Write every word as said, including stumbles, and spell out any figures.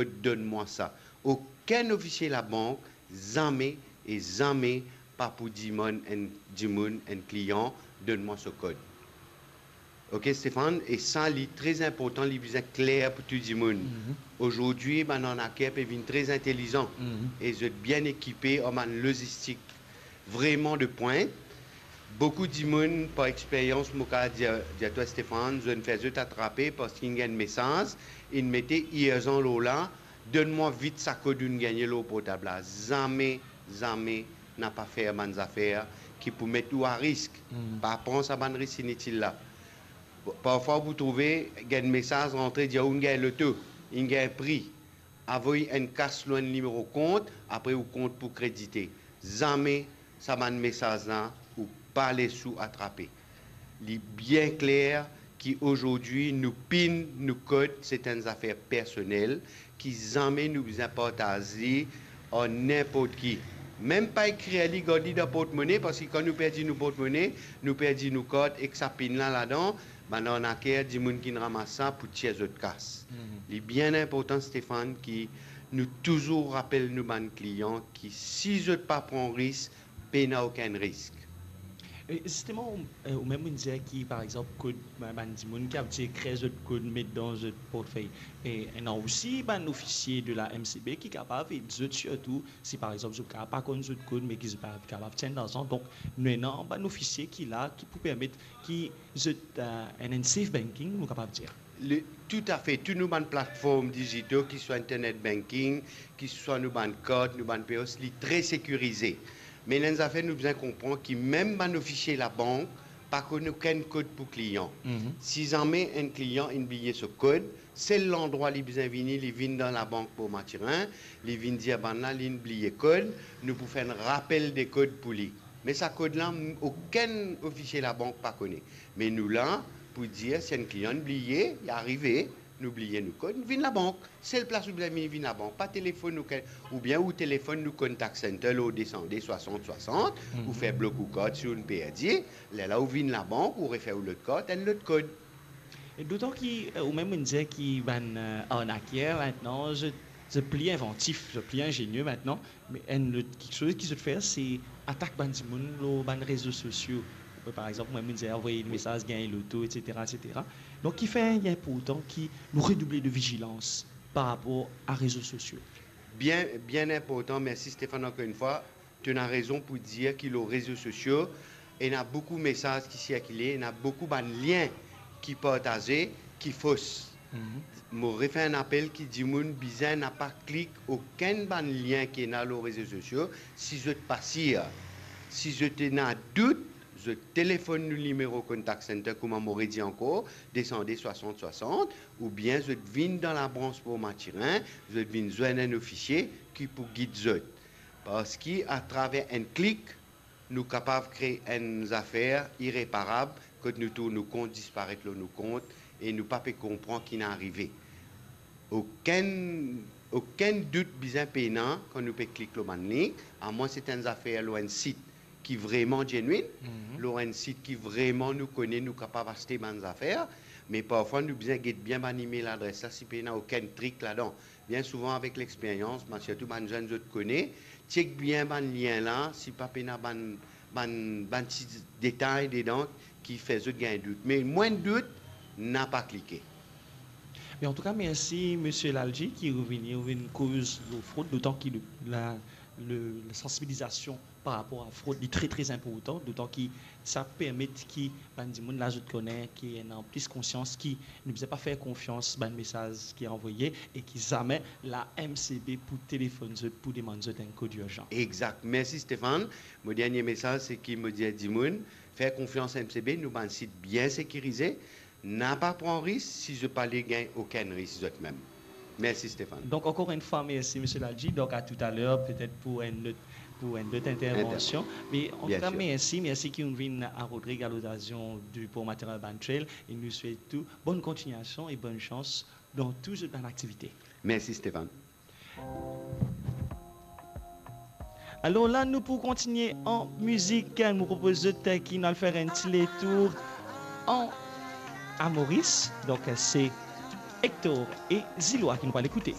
kod, donn mwa sa. Okenn ofisie labank zame e zame pa pou dimann enn dimoun, enn klian, donn mwa so kod. Ok, Stéphane, e sa, li tre inportan, li bizin kler pou tou dimoun. Mhm. Azordi, bann arnaker pe vinn tre intelizan, mhm, e zot bien ekipe ar bann lozistik vreman de pwint. Boukou dimoun, par experyans, mo kapav dir, dir twa, Stéphane, zot inn fer zot atrape parski inn gagn mesaz, inn mete irzan lor la, donn mwa vit sa kod ou'nn gagne lor portab la. Zame, zame napa fer bann zafer ki pou met ou a risk. Hmm. Pa pran sa bann risk initil la. Parfwa ou pou trouve gagn mesaz rantre, dir ou'nn gagn loto, inn gagn pri. Avoy enn kas lor enn nimero kont, apre ou kont pou kredite. Zame sa bann mesaz la, ou pa les ou atrape. Li bien kler ki azordi nou pin, nou kod, se enn zafer personel ki zame nou bizin partaz li ar ninport ki. Mem pa ekrir li, gard li dan portmone, parski kan nou perdi nou portmone, nou perdi nou kart ek sa pin la ladan, bann arnaker, dimoun ki'nn ramas sa pou tir zot kas. Mhm. Li bien inportan, Stéphane, ki nou touzour rapel nou bann klian ki si zot pa pran risk, pena okenn risk. E zisteman, ou, e, ou mem ou'nn dir ki, par exanp, kod, bann, bann dimoun ki abitie ekrir zot kod, met dan zot portfey. E ena osi bann ofisie de la M C B ki kapav ed zot, sirtou si, par exanp, zot kapav pa konn zot kod, me ki zot pa kapav tir larzan. Donk, nou ena bann ofisie ki la, ki pou permet ki zot, e, ena enn safe banking, nou kapav dir. Le, toutafe, tou nou bann platform dizito, ki swa internet banking, ki swa nou bann kart, nou bann P O S, li tre sekirize. Me ena enn zafer nou bizin konpran ki mem bann ofisie labank pa konn okenn kod pou klian. Mhm. Si zame enn klian inn bliye so kod, sel landrwa li bizin vini, li vinn dan labank Port Mathurin, li vinn dir bann la li'nn bliye kod, nou pou fer enn rapel de kod pou li. Me sa kod la, m-, okenn ofisie labank pa kone. Me nou la pou dir si enn klian inn bliye, li arive, nou bliye nou kod, nou vinn labank. Sel plas ou bizin vinn, vinn labank, pa telefonn nou ke-, oubien ou telefonn nou contact center lor de san de swasant swasant, mhm, ou fer blok ou kart si ou'nn perdi, lerla ou vinn labank, ou refer ou lot kart, enn lot kod. E dotan ki, e, ou mem ou'nn dir ki bann, e, arnaker, mintnan, zot, zot pli invantif, zot pli ingenie mintnan, me enn lot kiksoz ki zot fer, se atak bann dimoun lor bann rezo sosio. Par exanp, mem ou'nn dir avoy enn mesaz, gagn loto, et cetera, et cetera. Donk, kifer li inportan ki nou redouble de vizilans par rapor a rezo sosio? Bien, bien inportan. Mersi, Stéphane, ankor enn fwa. To ena rezon pou dir ki lor rezo sosio, ena boukou mesaz ki sirkile, ena boukou bann lien ki partaze, ki fos. Mhm. Mo refer enn apel ki dimoun bizin napa klik okenn bann lien ki ena lor rezo sosio, si zot pa sir. Si zot ena dout, zot telefonn nou nimero contact center, kouma mo redir ankor, de san de swasant swasant, oubien zot vinn dan labrans Port Mathurin, zot vinn zwenn enn ofisie ki pou gid zot. Parski atraver enn klik, nou kapav kree enn zafer ireparab, kot nou trouv nou kont disparet lor nou kont e nou pa pe konpran ki inn arive. Okenn, okenn dout bizin pena kan nou pe klik lor bann link, amwin se enn zafer lor enn sit ki vreman genuine, mhm, lor enn sit ki vreman nou kone nou kapav aste bann zafer, me parfwa nou bizin get bien bann email adres la, si pena okenn trik ladan. Bien souvan, avek lexperyans, bann, sirtou bann zenn, zot kone, chek bien bann lien la, si pa pena bann, bann, bann ti detay dedan ki fer zot gagn dout. Me mwin dout, napa klike. Me antouka, mersi, Misie Lalji, ki vini, vinn koz lor frod, dotan ki le, la, le, la sansibilizasion par rapor a frod, li tre, tre inportan, dotan ki sa permet ki bann dimoun la, zot kone ki ena plis konsians ki nou bizin pa fer konfians bann mesaz ki anvoye e ki zame la M C B pou telefonn zot, pou demann zot enn kod irzan. Exact. Mersi, Stéphane. Mo dernie mesaz, se ki mo dir dimoun, fer konfians M C B, nou bann sit bien sekirize, napa pran risk si zot pa le gagn okenn risk zot mem. Mersi, Stéphane. Donk, ankor enn fwa, mersi, Misie Lalji. Donk, a toutaler, petet pou enn lot, pou enn lot intervansion. Inter-, bien sir. Me antouka, mersi, mersi ki ou'nn vinn a Rodrig a lokazion di Port Mathurin Urban Trail. E nou swet ou bonn kontignasion e bonn sans dan tou zot bann aktivite. Mersi, Stéphane. Alor la, nou pou kontinie an mizik. Nou propoz zot ki nou al fer enn ti letour an, a Moris. Donk, se Hector e Zilwa ki nou pou al ekoute.